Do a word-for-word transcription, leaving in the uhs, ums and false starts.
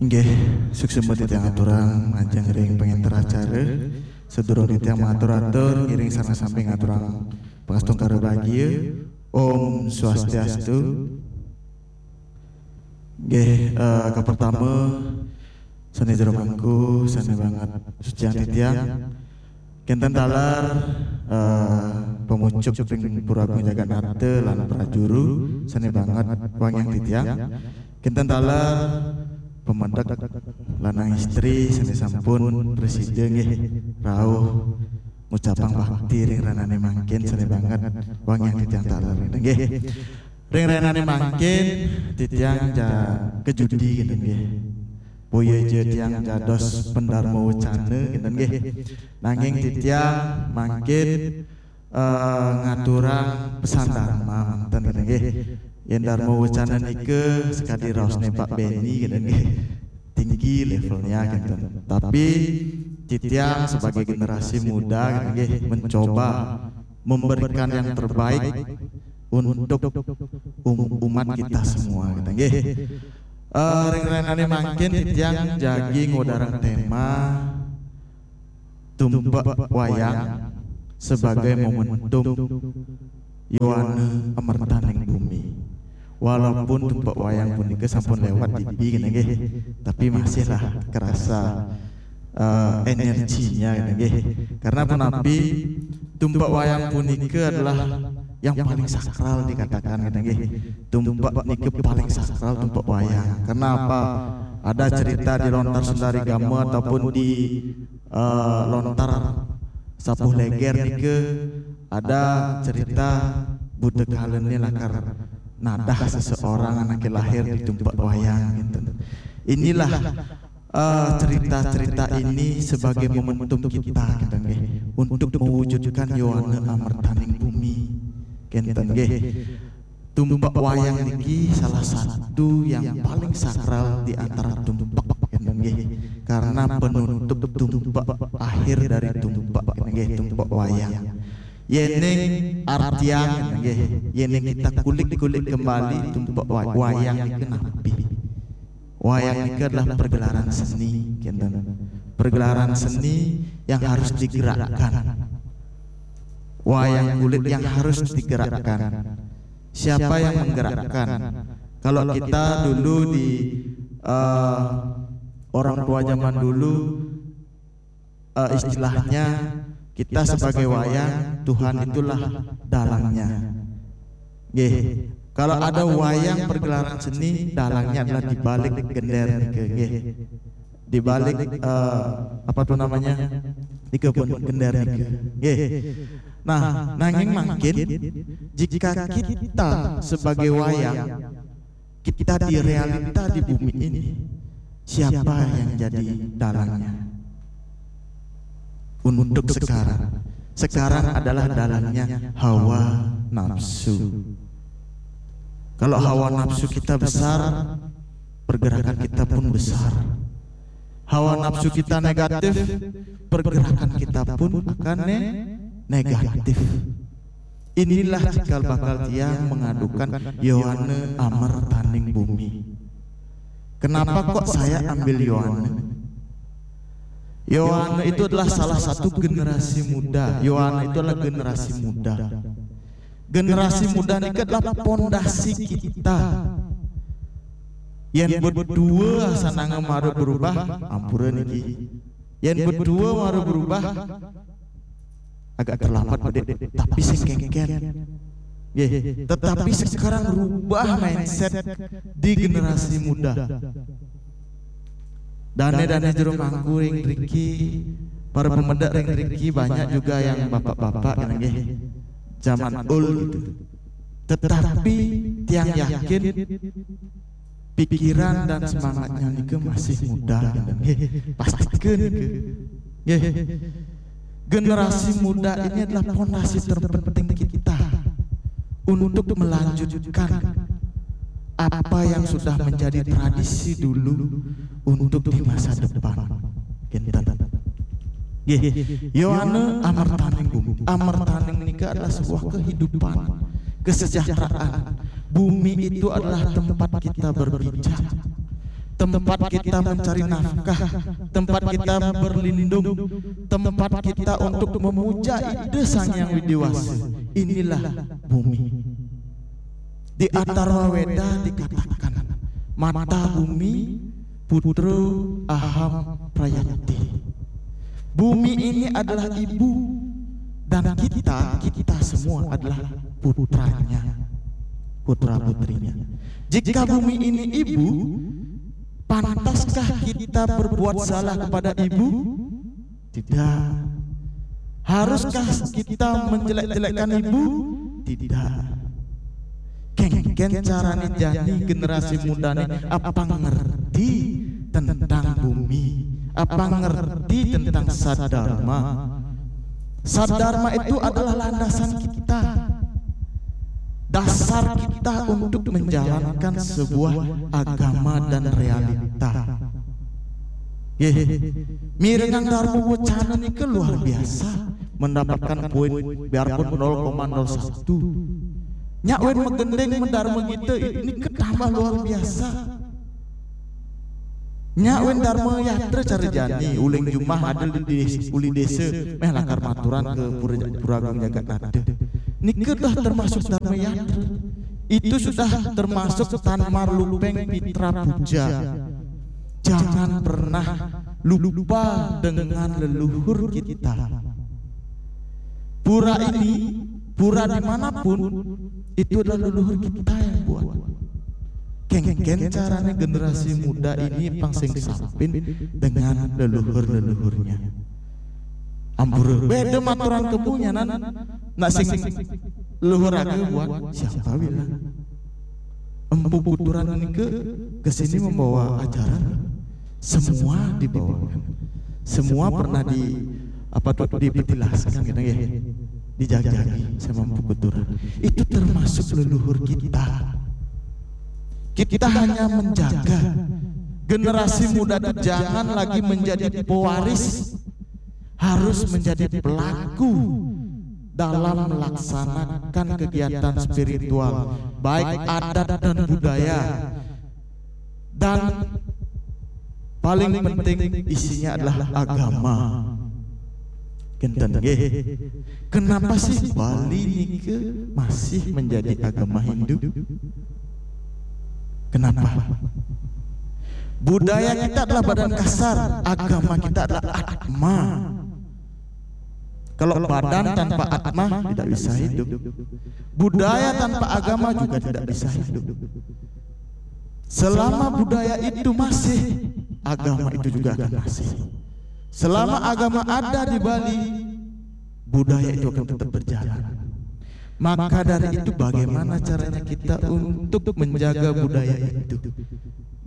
Inggih, suksma titiang aturang majeng ring pangenter acara. Sadurung titiang matur-atur, ngiring sareng sami ngaturang pangastungkara bagia. Om Swastiastu. Inggih, eh, kapertama, sane jero mangku, sane banget suciang titiang. Kenten taler, eh, pamucuk ring Pura Agung Jagat Nata lan prajuru, sane banget wangiang titiang. Kenten taler pamedek lanang istri sane sampun prasida nggih rauh ngucapang bakti ring rahinane mangkin, sane banget wangiang titiang taler nggih. Ring rahinane mangkin titiang ja kajudi kenten nggih. Boya ja tiang dados pendarma wacana kenten nggih. Nanging titiang mangkin eh, ngaturang pesan Dharma manten kenten nggih. Yen Dharma wacana nika sakadi raosne Pak Benny kenten nggih. Tinggi levelnya kenten. Tapi titiang sebagai generasi muda kenten nggih mencoba memberikan yang terbaik untuk um- umat kita semua kenten nggih. Eh, ring rahinane mangkin titiang jagi ngwedarang tema tumpek wayang sebagai momentum yowana amertaning bumi. Walaupun tumpek wayang punika sampun lewat dibi kenten nggih, tapi masihlah kerasa eh, energinya kenten nggih. Karena punapi, tumpek wayang punika adalah yang paling sakral dikatakan kenten nggih. Tumpek nika paling sakral tumpek wayang. Karena apa? Ada cerita di lontar Sundari Gama ataupun di eh, lontar Sapuh Leger nika ada cerita buta kalane lakar nadah seseorang anake lahir di tumpek wayang gitu. Inilah eh, cerita-cerita ini sebagai momentum kita gitu nggih untuk mewujudkan yowana amertaning bumi. Kenten nggih. Tumpek wayang niki salah satu yang paling sakral di antara tumpek kenten nggih. Karena penutup tumpek akhir dari tumpek kenten nggih, tumpek wayang. Yening artiang kenten nggih, yening kita kulik-kulik kembali tumpek wa- wayang niki napi? Wayang niki adalah pergelaran seni kenten. Pergelaran seni yang harus digerakkan. Wayang kulit yang harus digerakkan. Siapa yang menggerakkan? Kalau kita dulu di eh, orang tua zaman dulu eh, istilahnya kita sebagai wayang, Tuhan itulah dalangnya. Nggih. Kalau ada wayang pergelaran seni, dalangnya adalah di balik gender nika, nggih. Di balik eh, apa tuh namanya? Di kebun gender nika. Nggih. Nah, nanging mangkin jika kita sebagai wayang, kita di realita di bumi ini, siapa yang jadi dalangnya? Untuk sekarang, sekarang adalah dalangnya hawa nafsu. Kalau hawa nafsu kita besar, pergerakan kita pun besar. Hawa nafsu kita negatif, pergerakan kita pun akan ne- negatif. Inilah cikal bakal tiang mengadukan yowana amertaning bumi. Kenapa kok saya ambil yowana? Yowana itu adalah salah satu generasi muda. Yowana itu adalah generasi muda. Generasi muda niki adalah pondasi kita. Yen berdua sananga mara berubah, ampura niki. Yen berdua mara berubah, agak terlambat, Pak Dik. Tapi sing kengken. Nggih, tetapi sekarang rubah mindset di generasi muda. Dane-dane jero mangku ring driki, para pemedek ring driki banyak juga yang bapak-bapak kan nggih. Zaman old gitu. Tetapi tiang yakin pikiran dan semangatnya nika masih muda gitu. Nggih, pasti nika. Nggih. Generasi muda ini adalah pondasi terpenting kita untuk melanjutkan apa yang sudah menjadi tradisi dulu untuk di masa depan. Kinten. Nggih, yowana amertaning bumi. Amertaning nika adalah sebuah kehidupan, kesejahteraan. Bumi itu adalah tempat kita berpijak, tempat kita mencari nafkah, tempat kita berlindung, tempat kita untuk memuja Ida Sang Hyang Widhi Wasa. Inilah bumi. Di Atharwa Weda dikatakan, "Mata bumi, putro aham prayati." Bumi ini adalah ibu, dan kita, kita semua adalah putranya, putra putrinya. Jika bumi ini ibu, pantaskah kita berbuat salah kepada ibu? Tidak. Haruskah kita menjelek-jelekkan ibu? Tidak. Kénkén carané jani generasi mudané apa ngerti tentang bumi, apa ngerti tentang sadharma. Sadharma itu adalah landasan kita, dasar kita untuk menjalankan sebuah agama dan realita. Nggih, mirengang Dharma Wacana nika luar biasa, mendapatkan poin biarpun nol koma nol satu. Nyak wén magending mendarma kita nika tambah luar biasa. Nyak wén Dharma Yatra cara jani, uling jumah ada di des-, uli desa, méh lakar maturan ke Pura, Pura Agung Jagat Nata. Nika dah termasuk Dharma Yatra. Itu sudah termasuk tan marlupeng pitra puja. Jangan pernah lupa dengan leluhur kita. Pura ini, pura dimanapun, itu adalah leluhur kita yang buat. Kénkén carané generasi muda ini pang sing sampin dengan leluhur-leluhurnya. Ampura, beda maturan kebunyanan, nak sing leluhur raga buat siapa bilang? Empu Kuturan ini ke, ke sini membawa ajaran. Semua dibawakan. Semua pernah di, apa tuh, dipetilaskan gitu ya. Dijajaki sama Empu Kuturan. Itu termasuk leluhur kita. Kita hanya menjaga generasi muda itu jangan lagi menjadi pewaris, harus menjadi pelaku dalam melaksanakan kegiatan spiritual, baik adat dan budaya. Dan paling penting isinya adalah agama. Kénten nggih. Kenapa sih Bali nika masih menjadi agama Hindu? Kenapa? Budaya kita adalah badan kasar, agama kita adalah atma. Kalau badan tanpa atma tidak bisa hidup. Budaya tanpa agama juga tidak bisa hidup. Selama budaya itu masih, agama itu juga akan masih. Selama agama ada di Bali, budaya itu akan tetap berjalan. Maka dari itu, bagaimana caranya kita untuk menjaga budaya itu?